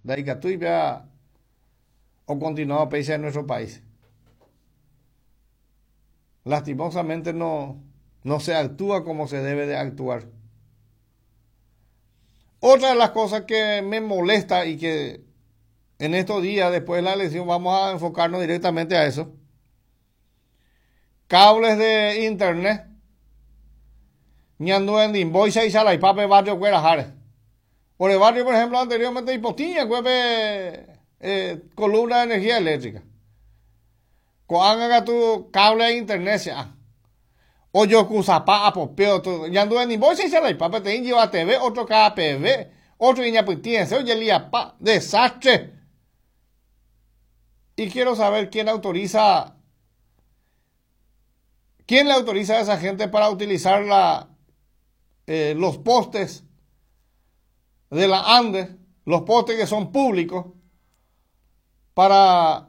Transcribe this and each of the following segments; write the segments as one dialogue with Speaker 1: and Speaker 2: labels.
Speaker 1: Ndaikatúi péva okontinua péicha en nuestro país. Lastimosamente no, no se actúa como se debe de actuar. Otra de las cosas que me molesta y que en estos días después de la elección vamos a enfocarnos directamente a eso. Cables de internet. Ñanduendimboicha ichalaipa barrio kueraháre. Por el barrio, por ejemplo, anteriormente ipotĩa pe columna de energía eléctrica. Ko'ág̃a katu cable de internet che'a. Ojokusapa apopeo ñanduendimboicha ichalaipa peteĩ lleva TV, otro KPV, otro iñapytĩese ojeliapa. Desastre. Y quiero saber quién autoriza, quién le autoriza a esa gente para utilizar los postes de la ANDE, los postes que son públicos, para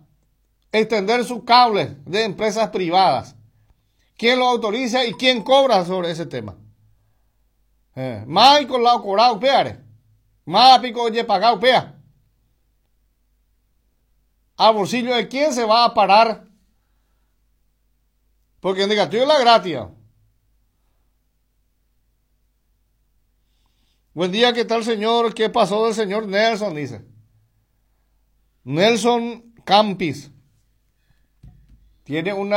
Speaker 1: extender sus cables de empresas privadas. ¿Quién lo autoriza y quién cobra sobre ese tema? Michael la ocorao peare. Más pico oye pagao pea. ¿Al bolsillo de quién se va a parar? Porque en negativo la gratis. Buen día, ¿qué tal, señor? ¿Qué pasó del señor Nelson? Dice. Nelson Campis. Tiene un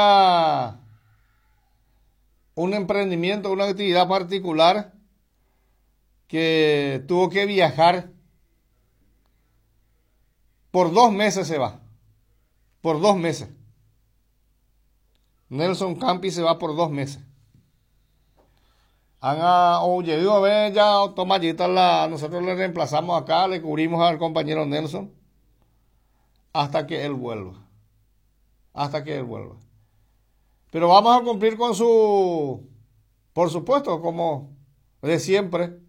Speaker 1: emprendimiento, una actividad particular que tuvo que viajar. Por 2 meses se va. Por 2 meses. Nelson Campis se va por 2 meses. Haga o llegó a ver ya tomayita la, nosotros le reemplazamos acá, le cubrimos al compañero Nelson hasta que él vuelva. Hasta que él vuelva. Pero vamos a cumplir con su, por supuesto, como de siempre.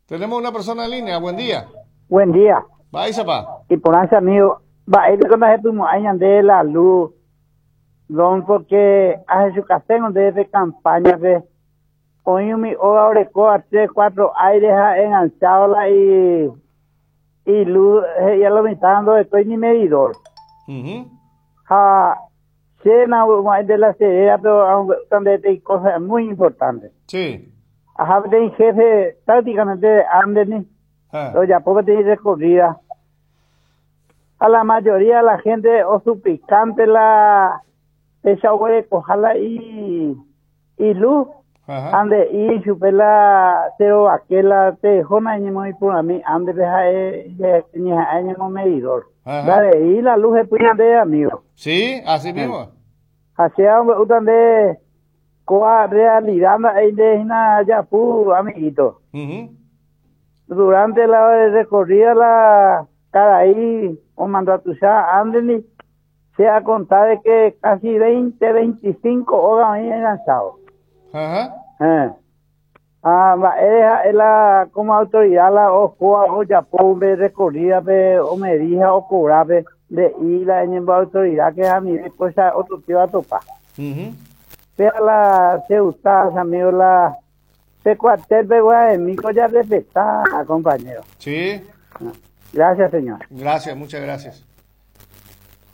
Speaker 1: Tenemos una persona en línea. Buen día.
Speaker 2: Buen día.
Speaker 1: Va, pa.
Speaker 2: Y por ese amigo, va, él con la de la luz, don, porque hace su café donde de campaña de hoy mi obra orecoa 3, 4 aires enganchado la y luz, ya lo me está dando estoy ni medidor. Ja, cena de la cerera, pero también hay cosas muy importantes.
Speaker 1: Sí.
Speaker 2: Ajá, de jefe prácticamente anden, pero ya poco tiene recorrida. A la mayoría de la gente o suplicante la esa huele cojala y luz.
Speaker 1: Ajá.
Speaker 2: Ande y chupela cero aquela te jona y muy por a mí ande deja ni año medidor.
Speaker 1: Ajá.
Speaker 2: Dale, y la luz es puña de amigo.
Speaker 1: Sí, así mismo.
Speaker 2: Así hombre, usted coa realidad ahí de una ya pu amiguito. Durante la recorrida la cada ahí o mandó a tu ya anden se ha contado de que casi 20, 25 horas ahí enganchado.
Speaker 1: Ajá.
Speaker 2: Ah, va, es la como autoridad la o coa o ya pe recorrida pe o me dija o cobra pe de y la en autoridad que a mí después a otro tío a topar. Pero la se gusta, amigo, la se cuartel pe guay, mi ya respeta, compañero.
Speaker 1: Sí.
Speaker 2: Gracias, señor.
Speaker 1: Gracias, muchas gracias.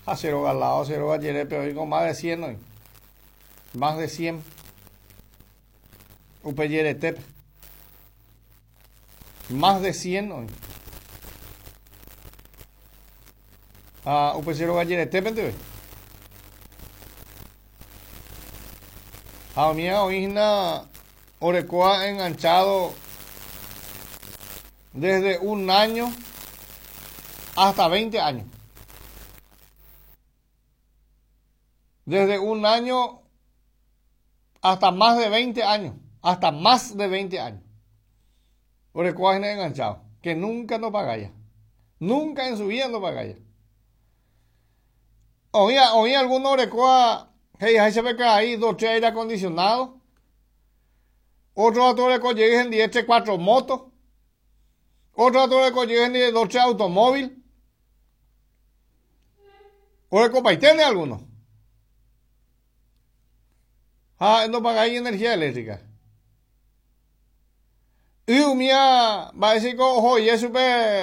Speaker 1: A cero galado, cero gallere, pero hoy con más de 100 hoy. Más de 100. Upeyeretep. Más de 100 hoy. Ah, upecero galleretep, ¿entiendes? A mí oína orecoa enganchado desde un año hasta 20 años. Desde un año hasta más de 20 años. Hasta más de 20 años. Orecoa enganchado. Que nunca no paga ya. Nunca en su vida no paga ya. Oía alguno orecoa. Hey, ahí se ve que hay 2, 3 aire acondicionado. Otro otro orecoa llega en 10, 3, 4 motos. Otro otro orecoa llega en 10, 2, 3 automóvil. Orecoa tiene alguno. Ah, no pagáis energía eléctrica. Y umía, va a decir, ojo, y eso,